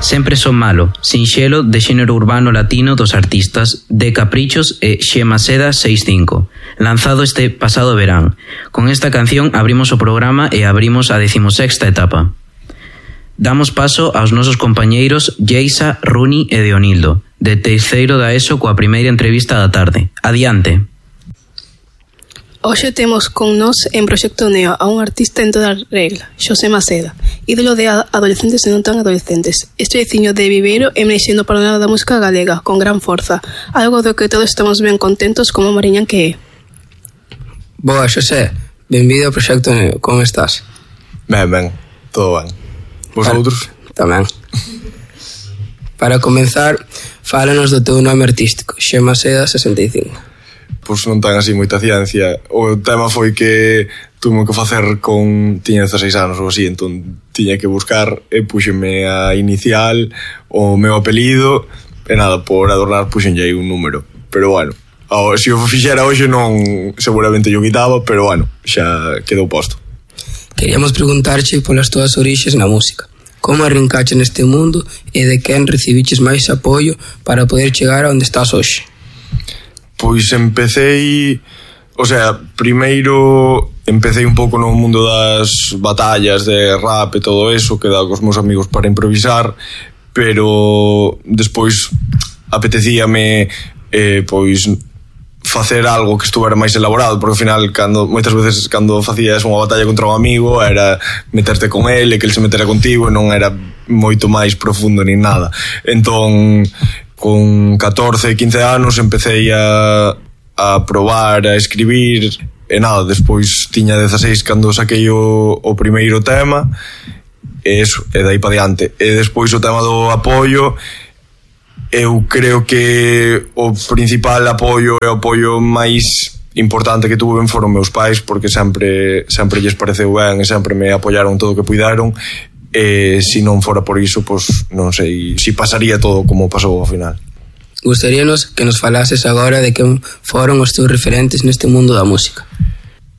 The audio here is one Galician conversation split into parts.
Sempre son malo, sinxelo de xénero urbano latino dos artistas de Caprichos e Xemaseda 65, lanzado este pasado verán. Con esta canción abrimos o programa e abrimos a 16ª etapa. Damos paso aos nosos compañeiros Geisa, Runi e Deonildo, de terceiro da ESO coa primeira entrevista da tarde. Adiante. Hoxe temos con nós en Proxecto Neo a un artista en toda regla, Xosé Maceda, ídolo de adolescentes e non tan adolescentes. Este veciño de Viveiro emerxendo para o lado da música galega, con gran forza, algo do que todos estamos ben contentos como mariñán que é. Boa, Xosé, benvido ao Proxecto Neo, como estás? Ben, todo ben. Vosotros? Tamén. Para comenzar, fálanos do teu nome artístico, Xemaseda 65. Pois non ten así moita ciencia. O tema foi que tuve que facer tiña 16 anos ou así, entón tiña que buscar e puxenme a inicial, o meu apelido, e nada, por adornar puxenlle un número. Pero bueno, se o fixera hoxe non, seguramente yo quitaba, pero bueno, xa quedou posto. Queríamos preguntarche polas túas orixes na música. Como arrincache neste mundo e de quen recibiches máis apoio para poder chegar a onde estás hoxe? Pois empecei, primeiro empecei un pouco no mundo das batallas de rap e todo eso, que daba cos meus amigos para improvisar, pero despois apetecíame pois facer algo que estuvera máis elaborado, porque ao final moitas veces cando facías unha batalla contra un amigo era meterte con ele, que ele se metera contigo e non era moito máis profundo nin nada. Entón, con 14, 15 anos empecé a probar a escribir e nada, despois tiña 16 cando saquei o primeiro tema e dai pa diante. E despois o tema do apoio, eu creo que o principal apoio e o apoio máis importante que tuve foron meus pais, porque sempre lles pareceu ben e sempre me apoiaron todo o que puideron. E se non fora por iso, pois non sei se pasaría todo como pasou ao final. Gustaríanos que nos falases agora de quen foron os teus referentes neste mundo da música.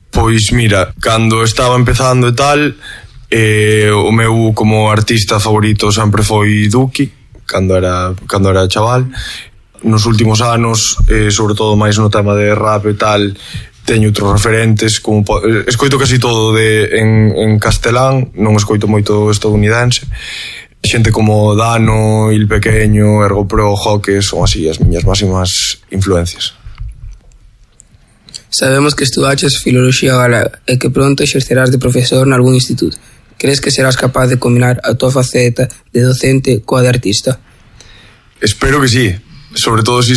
Pois mira, cando estaba empezando e tal, o meu como artista favorito sempre foi Duki, cando era chaval. Nos últimos anos, sobre todo máis no tema de rap e tal, teño outros referentes, como escoito casi todo en castelán, non escoito moito estadounidense. Xente como Dano, Il Pequeño, Ergo Pro, Joque, son así as miñas máximas influencias. Sabemos que estudaches filoloxía galega e que pronto exercerás de profesor nalgún instituto. Crees que serás capaz de combinar a tua faceta de docente coa de artista? Espero que sí. Sobre todo si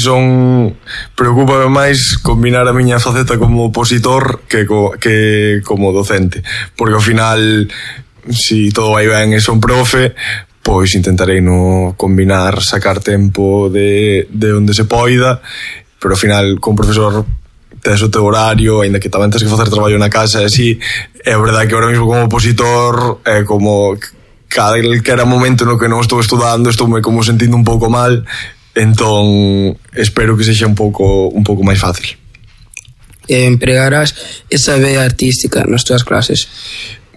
preocúpame máis combinar a miña faceta como opositor que como docente, porque ao final, si todo vai ben e son profe, pois intentarei no combinar, sacar tempo de onde se poida, pero ao final con profesor tes o teu horario, aínda que tamén tens que facer traballo na casa e así. É verdade que ahora mesmo como opositor é como calquera momento no que non estou estudando estoume como sentindo un pouco mal. Entón, espero que sexa un pouco máis fácil. Empregarás esa vea artística nas túas clases?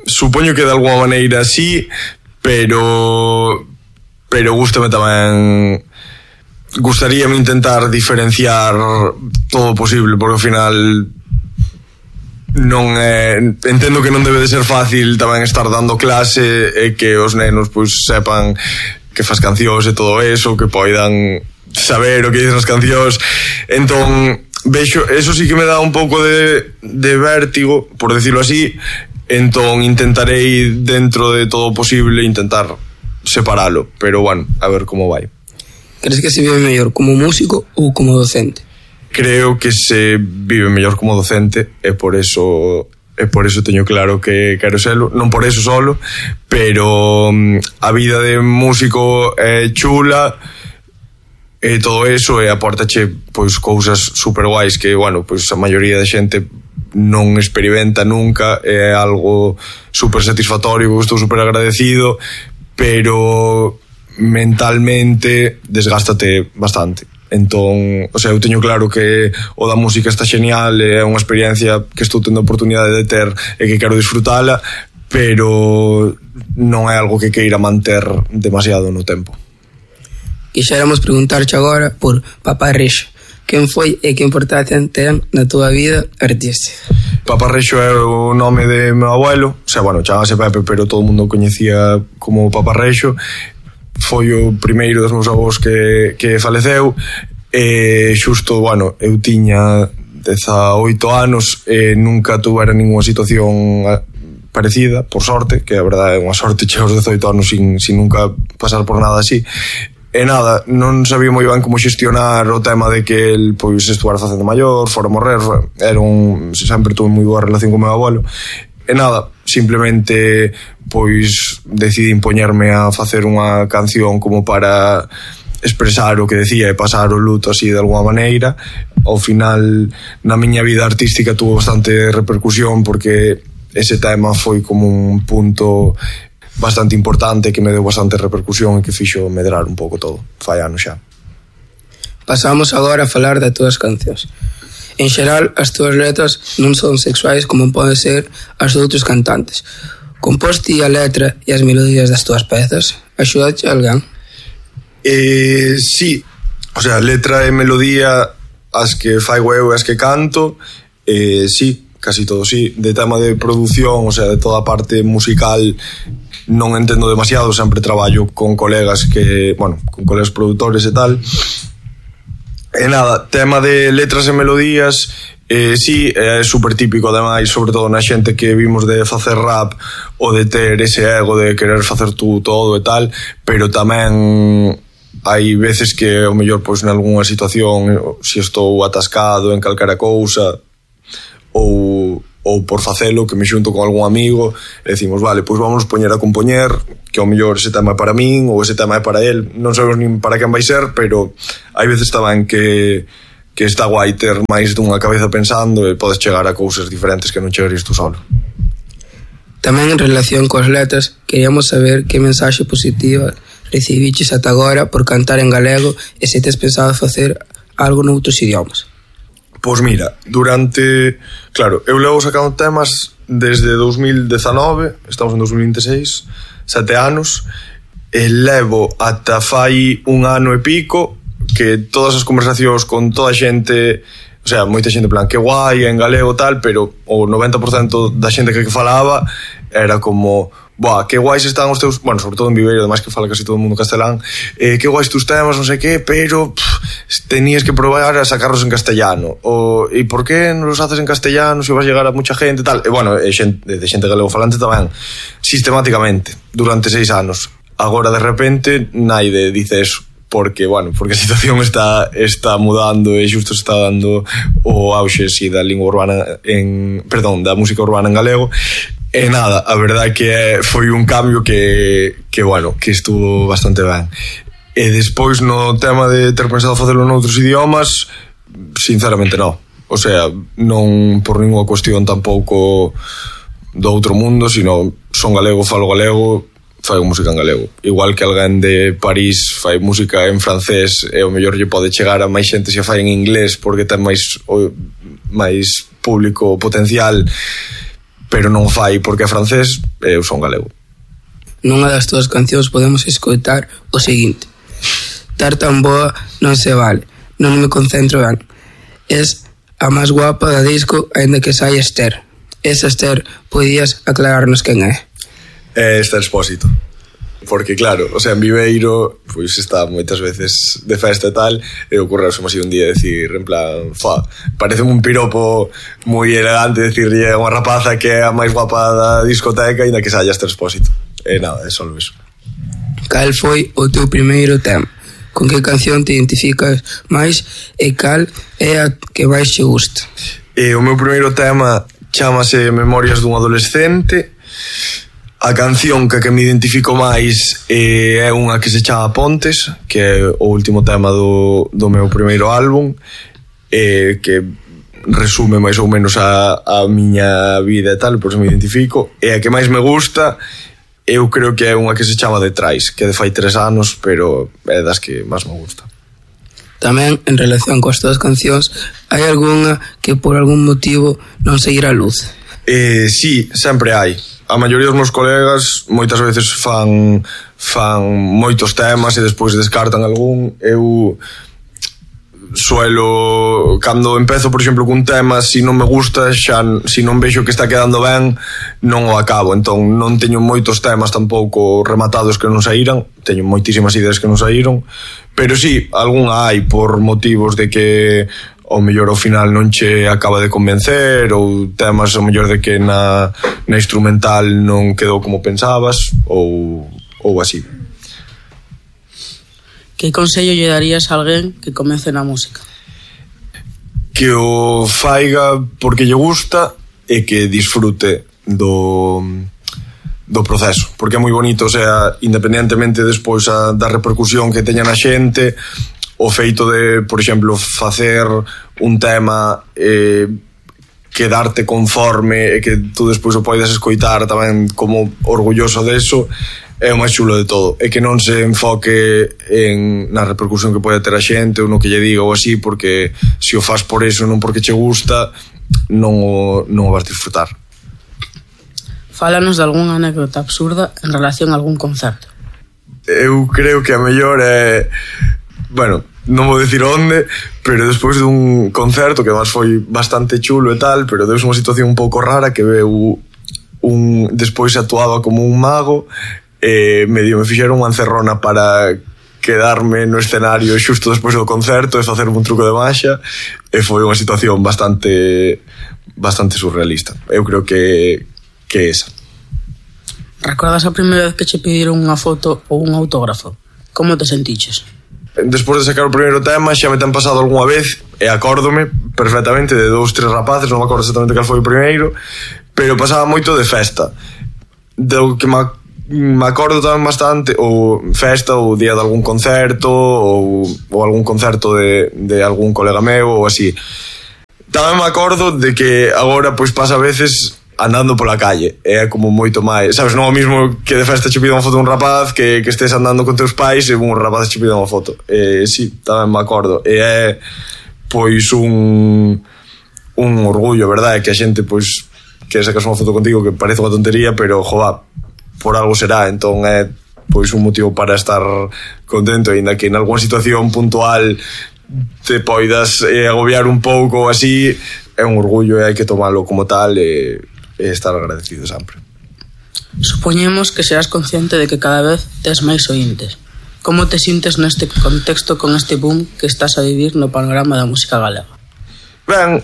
Supoño que de alguma maneira sí, pero gústame tamén. Gustaríame intentar diferenciar todo o posible, porque ao final entendo que non debe de ser fácil tamén estar dando clase e que os nenos pois sepan que fas cancións e todo eso, que poidan saber o que dicen as cancións. Entón, vexo, eso sí que me dá un pouco de vértigo, por decirlo así. Entón, intentarei, dentro de todo o posible, intentar separalo. Pero, bueno, a ver como vai. Crees que se vive mellor como músico ou como docente? Creo que se vive mellor como docente e por eso teño claro que quero selo, non por eso solo, pero a vida de músico é chula e todo eso, e apórtache pois cousas super guais que, bueno, pois a maioría da xente non experimenta nunca, é algo super satisfactorio, que estou super agradecido, pero mentalmente desgástate bastante. Entón, eu teño claro que o da música está genial, é unha experiencia que estou tendo a oportunidade de ter e que quero disfrutala, pero non é algo que queira manter demasiado no tempo. Quixéramos preguntarche agora por Paparrexo. Quen foi e que importancia ten na túa vida artística? Paparrexo é o nome de meu abuelo, o sea, bueno, chamase Pepe, pero todo o mundo coñecía como Paparrexo. Foi o primeiro dos meus avós que faleceu, e xusto, bueno, eu tiña 18 anos e nunca tuvera ninguna situación parecida, por sorte, que a verdade é unha sorte chegar aos 18 anos sin nunca pasar por nada así. E nada, non sabía moi ben como xestionar o tema de que el pois estuara facendo maior, fora morrer, sempre tuve moi boa relación con meu abuelo. E nada, simplemente pois decidí impoñerme a facer unha canción como para expresar o que decía e pasar o luto así de alguma maneira. Ao final, na miña vida artística tuvo bastante repercusión porque ese tema foi como un punto bastante importante que me deu bastante repercusión e que fixo medrar un pouco todo. Fai anos xa. Pasamos agora a falar das túas cancións. En xeral, as túas letras non son sexuais como pode ser as de outros cantantes. Composte a letra e as melodías das túas pezas? Axúdache alguén? Sí, o sea, letra e melodía as que faigo eu e as que canto, sí, casi todo sí. De tema de produción, o sea, de toda a parte musical non entendo demasiado, sempre traballo con colegas con colegas produtores e tal. E nada, tema de letras e melodías, sí, é super típico, ademais, sobre todo na xente que vimos de facer rap ou de ter ese ego de querer facer tú todo e tal, pero tamén hai veces que ao mellor pois nalgúna situación se estou atascado en calquera cousa ou por facelo, que me xunto con algún amigo e decimos, vale, pois vamos poñer a compoñer, que ao mellor ese tema é para min ou ese tema é para él, non sabemos nin para quen vai ser, pero hai veces tamén que está guai ter máis dunha cabeza pensando e podes chegar a cousas diferentes que non chegarías tú solo. Tamén en relación coas letras, queríamos saber que mensaxe positiva recibiches ata agora por cantar en galego e se tes pensado facer algo noutros idiomas. Pois mira, claro, eu levo sacando temas desde 2019, estamos en 2026, 7 anos, e levo ata fai un ano e pico que todas as conversacións con toda a xente, o sea, moita xente en plan, que guai, en galego tal, pero o 90% da xente que falaba era como, buah, que guais están os teus, bueno, sobre todo en Viveiro, además que fala casi todo o mundo castelán, que guais tus temas, non sei que, pero tenías que probar a sacarlos en castellano, e por que non los haces en castellano se vas a llegar a mucha gente tal, e bueno, de xente galego falante tamén, sistemáticamente, durante 6 anos. Agora de repente naide dice eso, porque a situación está mudando e xusto se está dando o auxe da lingua urbana da música urbana en galego. E nada, a verdade que foi un cambio que estuvo bastante ben. E despois no tema de ter pensado facelo noutros idiomas, sinceramente non. O sea, non por ninguna cuestión tampouco do outro mundo, sino son galego, falo galego, fai música en galego. Igual que alguén de París fai música en francés e o mellor lle pode chegar a máis xente se fai en inglés porque ten máis público potencial, pero non fai porque é francés e eu son galego. Nunha das túas cancións podemos escoitar o seguinte: tar tan boa non se vale, non me concentro ben, es a máis guapa da disco aínda que sai Esther. Esa Esther, podías aclararnos quen é? É Esther Expósito, porque claro, o sea, en Viveiro pois está moitas veces de festa e tal, e ocorreuse así un día decir, en plan, parece un piropo moi elegante decirlle a unha rapaza que é a máis guapa da discoteca e na que saia Esther Expósito. E nada, é só eso. Cal foi o teu primeiro tema? Con que canción te identificas máis e cal é a que máis che gusta? O meu primeiro tema chámase Memorias dun adolescente. A canción que me identifico máis é unha que se chama Pontes, que é o último tema do meu primeiro álbum, que resume máis ou menos a miña vida e tal, por eso me identifico. E a que máis me gusta, eu creo que é unha que se chama Detrás, que de fai 3 anos, pero é das que máis me gusta. Tamén, en relación coas túas cancións, hai algunha que por algún motivo non seguirá a luz? Sí, sempre hai. A maioría dos meus colegas moitas veces fan moitos temas e despois descartan algún. Eu suelo, cando empezo por exemplo cun tema, se non me gusta, xa, se non vexo que está quedando ben, non o acabo. Entón non teño moitos temas tampouco rematados que non saíran, teño moitísimas ideas que non saíron, pero sí, algún hai por motivos de que ao mellor ao final non che acaba de convencer, ou temas ao mellor de que na instrumental non quedou como pensabas, ou así. Que consello lle darías a alguén que comece na música? Que o faiga porque lle gusta e que disfrute do proceso, porque é moi bonito, o sea, independentemente despois da repercusión que teña na xente, o feito de, por exemplo, facer un tema, quedarte conforme e que tú despois o poidas escoitar tamén como orgulloso deso, é o máis chulo de todo. E que non se enfoque na repercusión que pode ter a xente ou no que lle diga ou así, porque se o fas por eso, non porque che gusta, non o vas disfrutar. Fálanos de algunha anécdota absurda en relación a algún concerto. Eu creo que a mellor é... Bueno, non vou dicir onde, pero despois dun concerto que además foi bastante chulo e tal, pero deus unha situación un pouco rara que veu despois actuaba como un mago e medio me fixeron unha encerrona para quedarme no escenario xusto despois do concerto e facer un truco de maxa, e foi unha situación bastante surrealista. Eu creo que esa. Recordas a primeira vez que che pediron unha foto ou un autógrafo? Como te sentiches? Despois de sacar o primeiro tema xa me ten pasado algunha vez e acórdome perfectamente de 2-3 rapaces, non me acordo exactamente cal foi o primeiro, pero pasaba moito de festa. Do que me acordo tamén bastante, ou festa, ou día de algún concerto, ou algún concerto de algún colega meu ou así. Tamén me acordo de que agora pois pasa a veces andando pola calle, é como moito máis, sabes, non o mismo que de festa che pida unha foto un rapaz que estés andando con teus pais e un rapaz che pida unha foto. Sí, tamén me acordo, e é pois un orgullo, verdade, que a xente pois que sacas unha foto contigo que parece unha tontería, pero joa, por algo será, entón é pois un motivo para estar contento, aínda que en algunha situación puntual te poidas agobiar un pouco ou así, é un orgullo e hai que tomalo como tal e estar agradecido sempre. Supoñemos que serás consciente de que cada vez tes máis oíntes. Como te sintes neste contexto con este boom que estás a vivir no panorama da música galega? Ben,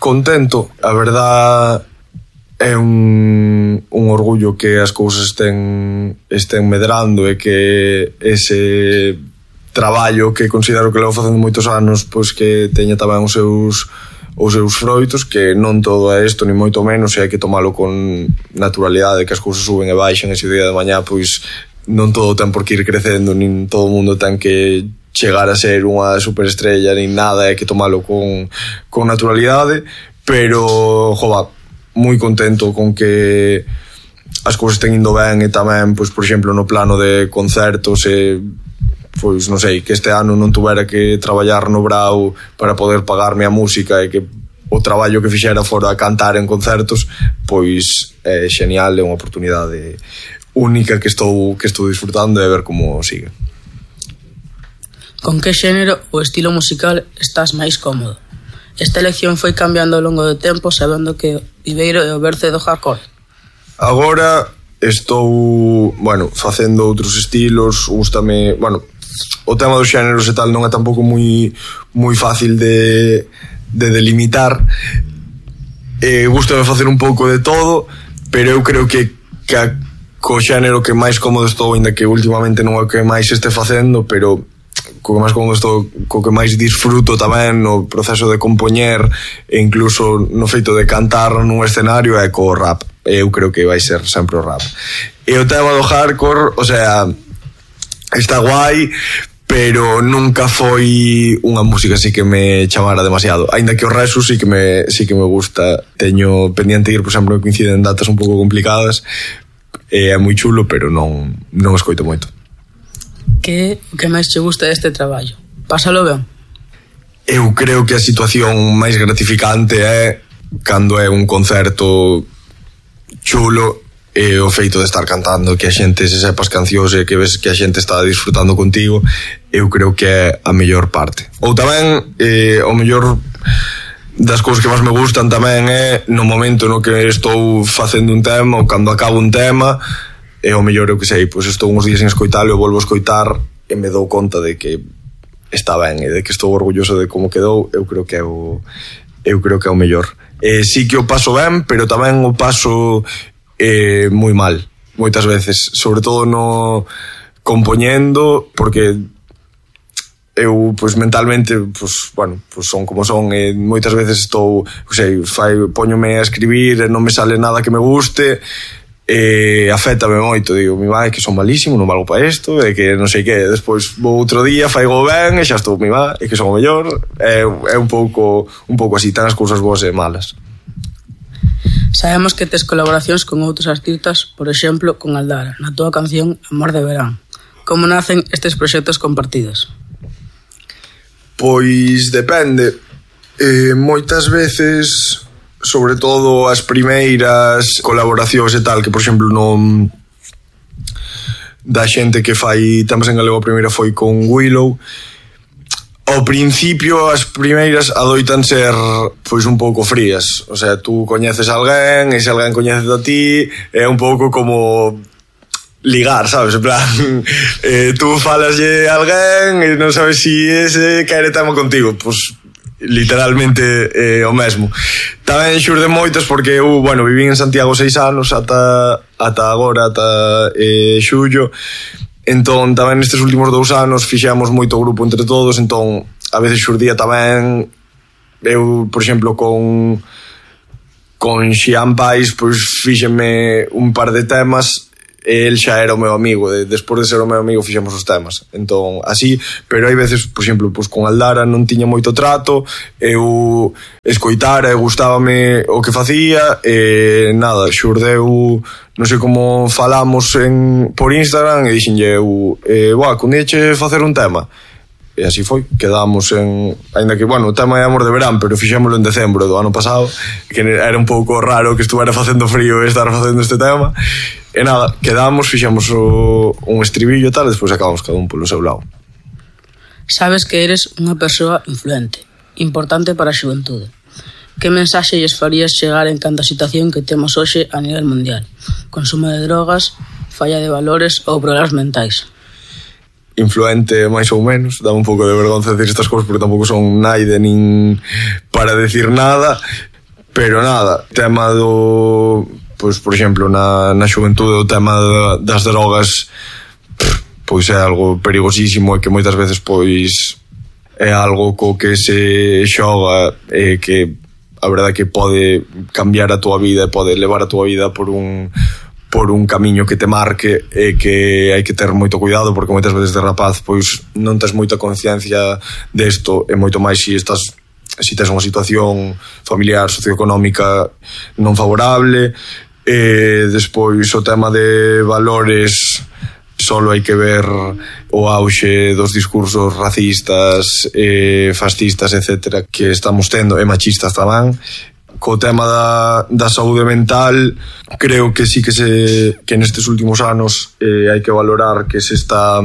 contento. A verdad é un orgullo que as cousas estén medrando e que ese traballo que considero que levo facendo moitos anos pois que teña tamén os seus froitos, que non todo é isto, ni moito menos, e hai que tomalo con naturalidade, que as cousas suben e baixan, e se o día de mañá pois non todo ten por que ir crecendo, nin todo o mundo ten que chegar a ser unha superestrella, nin nada, hai que tomalo con naturalidade, pero, jova, moi contento con que as cousas estén indo ben, e tamén, pois, por exemplo, no plano de concertos e pois non sei, que este ano non tuvera que traballar no Brau para poder pagarme a música e que o traballo que fixera fora a cantar en concertos, pois é genial, é unha oportunidade única que estou disfrutando e a ver como sigue. Con que xénero ou estilo musical estás máis cómodo? Esta elección foi cambiando ao longo do tempo, sabendo que Viveiro é o berce do hardcore. Agora estou, facendo outros estilos, gústame, o tema dos xéneros e tal non é tampouco moi fácil de delimitar. Gústame facer un pouco de todo, pero eu creo que co xénero que máis cómodo estou, ainda que últimamente non é o que máis este facendo, pero co que máis cómodo estou, co que máis disfruto tamén no proceso de compoñer e incluso no feito de cantar nun escenario, é co rap. Eu creo que vai ser sempre o rap. E o tema do hardcore, o sea, está guai, pero nunca foi unha música así que me chamara demasiado. Aínda que o resto sí que me gusta. Teño pendiente ir, por exemplo, que coinciden datas un pouco complicadas. É moi chulo, pero non escoito moito. Que máis che gusta deste traballo? Pásalo ben? Eu creo que a situación máis gratificante é cando é un concerto chulo, e o feito de estar cantando, que a xente se sepa as cancións e que ves que a xente está disfrutando contigo, eu creo que é a mellor parte. Ou tamén, o mellor das cousas que máis me gustan tamén é no momento no que estou facendo un tema ou cando acabo un tema, e o mellor, eu que sei, pois estou uns días sin escoitalo e volvo a escoitar e me dou conta de que está ben e de que estou orgulloso de como quedou. Eu creo que é o mellor. Sí que o paso ben, pero tamén o paso moi mal moitas veces, sobre todo no compoñendo, porque eu, pois, mentalmente, pois, bueno, pois son como son, e moitas veces estou, sei, póñome a escribir e non me sale nada que me guste, e afétame moito, digo, mi vai, que son malísimo, non valgo para isto, e que non sei que, despois vou outro día, faigo ben, e xa estou, mi vai, e que son o mellor, é un pouco así, tan as cousas boas e malas. Sabemos que tes colaboracións con outros artistas, por exemplo, con Aldara, na túa canción Amor de Verán. Como nacen estes proxectos compartidos? Pois depende. Moitas veces, sobre todo as primeiras colaboracións e tal, que por exemplo non da xente que fai temas en galego, a primeira foi con Willow. Ao principio, as primeiras adoitan ser pois un pouco frías. O sea, tú coñeces a alguén e se alguén coñece a ti, é un pouco como ligar, sabes? En plan, tú falaslle a alguén e non sabes si ese quere tema contigo. Pois literalmente o mesmo. Tamén xurde moitas porque eu, bueno, vivín en Santiago 6 anos ata agora, ata xullo. Entón, tamén nestes últimos 2 anos fixemos moito grupo entre todos, entón a veces xurdía tamén. Eu, por exemplo, con Xian Pais, pois fíxeme un par de temas e el xa era o meu amigo, despois de ser o meu amigo fixemos os temas, entón así. Pero hai veces, por exemplo, pois con Aldara non tiña moito trato, eu escoitara e gustábame o que facía e nada, xurdeu, non sei como falamos por Instagram e dixenlle eu, con diche facer un tema. E así foi, quedamos ainda que, bueno, o tema é Amor de Verán, pero fixémolo en decembro do ano pasado, que era un pouco raro que estuvera facendo frío e estar facendo este tema. E nada, quedamos, fixemos un estribillo e tal, e despois acabamos cada un polo seu lado. Sabes que eres unha persoa influente, importante para a xuventude. Que mensaxe lles farías chegar en canta situación que temos hoxe a nivel mundial? Consumo de drogas, falla de valores ou problemas mentais? Influente máis ou menos, dá un pouco de vergonza decir estas cousas porque tampouco son naide nin para decir nada, pero nada, tema do, pois, por exemplo, na xuventude, o tema das drogas, pois é algo perigosísimo e que moitas veces pois é algo co que se xoga e que a verdade que pode cambiar a túa vida e pode levar a túa vida por un camiño que te marque e que hai que ter moito cuidado porque moitas veces de rapaz pois non tes moita conciencia desto e moito máis si tes unha situación familiar, socioeconómica non favorable. E despois o tema de valores, solo hai que ver o auxe dos discursos racistas, fascistas, etcétera, que estamos tendo, e machistas tamén. Co tema da saúde mental, creo que sí que nestes últimos anos hai que valorar que se está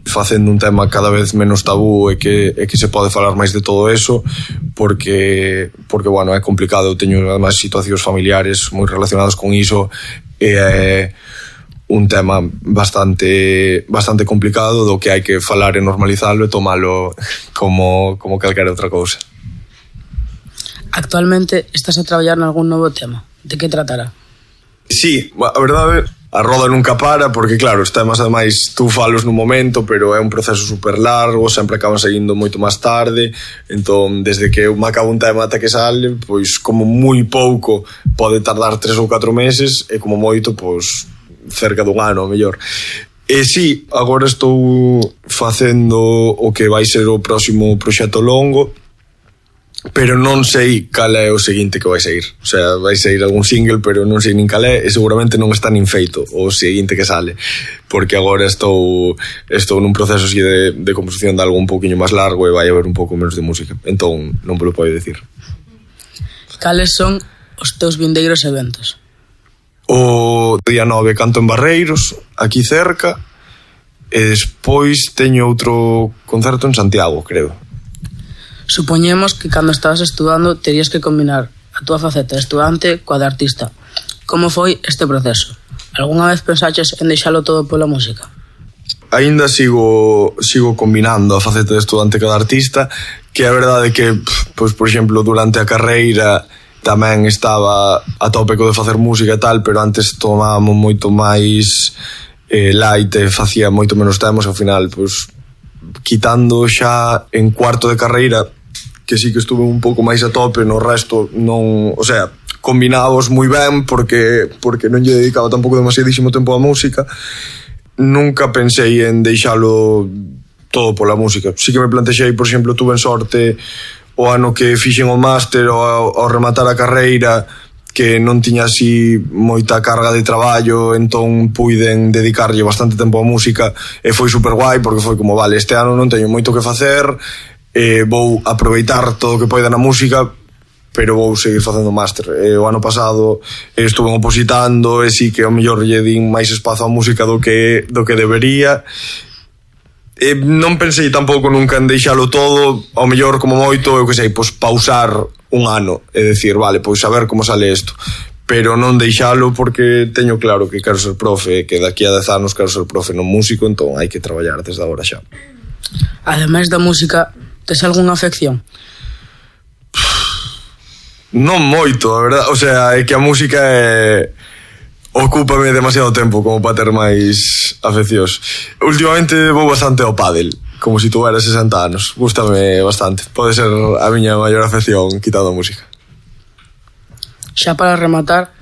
facendo un tema cada vez menos tabú e que se pode falar máis de todo eso porque bueno, é complicado. Eu teño además situacións familiares moi relacionadas con iso e é un tema bastante complicado do que hai que falar e normalizalo e tomalo como calquera outra cousa. Actualmente estás a traballar en algún novo tema. De que tratará? Sí, a verdade, a roda nunca para, porque claro, os temas ademais tú falos nun momento, pero é un proceso super largo, sempre acaban seguindo moito máis tarde, entón desde que eu me acabo un tema ata que sale, pois como moi pouco pode tardar 3 ou 4 meses e como moito, pois cerca dun ano, mellor. E sí, agora estou facendo o que vai ser o próximo proxecto longo, pero non sei cal é o seguinte que vai sair. O sea, vai sair algún single, pero non sei nin cal é, e seguramente non está nin feito o seguinte que sale, porque agora estou nun proceso así de composición de algo un pouquiño máis largo e vai haber un pouco menos de música, entón non me lo podo decir. Cales son os teus vindeiros eventos? O día 9 canto en Barreiros, aquí cerca, e despois teño outro concerto en Santiago, creo. Supoñemos que cando estabas estudando terías que combinar a túa faceta de estudante coa de artista. Como foi este proceso? Algúnha vez pensaches en deixalo todo pola música? Ainda sigo combinando a faceta de estudante cada artista, que a verdade é que, pois, por exemplo, durante a carreira tamén estaba a tope co de facer música e tal, pero antes tomábamos moito máis light e facía moito menos temos, ao final, pois, quitando xa en cuarto de carreira, que sí que estuve un pouco máis a tope, no resto non, o sea, combinábamos moi ben porque non lle dedicaba tampouco demasiadísimo tempo á música. Nunca pensei en deixalo todo pola música. Sí que me plantexei, por exemplo, tuve en sorte o ano que fixen o máster ao rematar a carreira, que non tiña así moita carga de traballo, entón puiden dedicarlle bastante tempo á música e foi super guai porque foi como, vale, este ano non teño moito que facer, vou aproveitar todo o que poida na música, pero vou seguir facendo máster. O ano pasado estuve opositando e sí que ao mellor lle din máis espazo á música do que debería. Non pensei tampouco nunca en deixalo todo, ao mellor como moito, eu que sei, pois pausar un ano e decir, vale, pois a ver como sale isto, pero non deixalo porque teño claro que quero ser profe, que daqui a 10 anos quero ser profe, non músico, entón hai que traballar desde agora xa. Ademais da música, tes algunha afección? Non moito, a verdade, o sea, é que a música ocúpame demasiado tempo como para ter máis afeccións. Últimamente vou bastante ao pádel, como se tuvera 60 anos. Gústame bastante. Pode ser a miña maior afección quitando a música. Xa para rematar,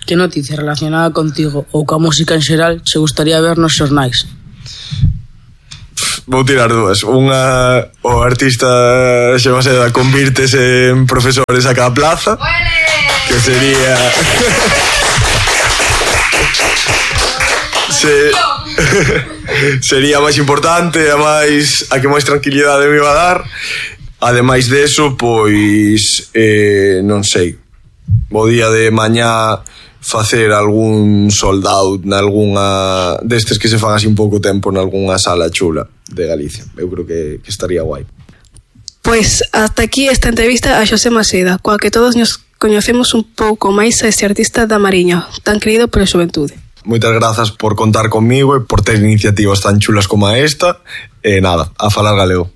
que noticia relacionada contigo ou coa música en xeral che gustaría ver nos xornais? Vou tirar dúas. Unha, o artista Xema Seda convírtese en profesores a cada plaza, que sería... sería máis importante, a que máis tranquilidade me iba a dar. Ademais deso, pois non sei, o día de mañá facer algún sold out nalgúnha destes que se fan así un pouco tempo nalgúnha sala chula de Galicia. Eu creo que estaría guai. Pois hasta aquí esta entrevista a Xosé Maseda, coa que todos nos coñecemos un pouco máis a este artista da Mariña, tan querido pola xuventude. Moitas grazas por contar comigo e por ter iniciativas tan chulas como esta. E nada, a falar galego.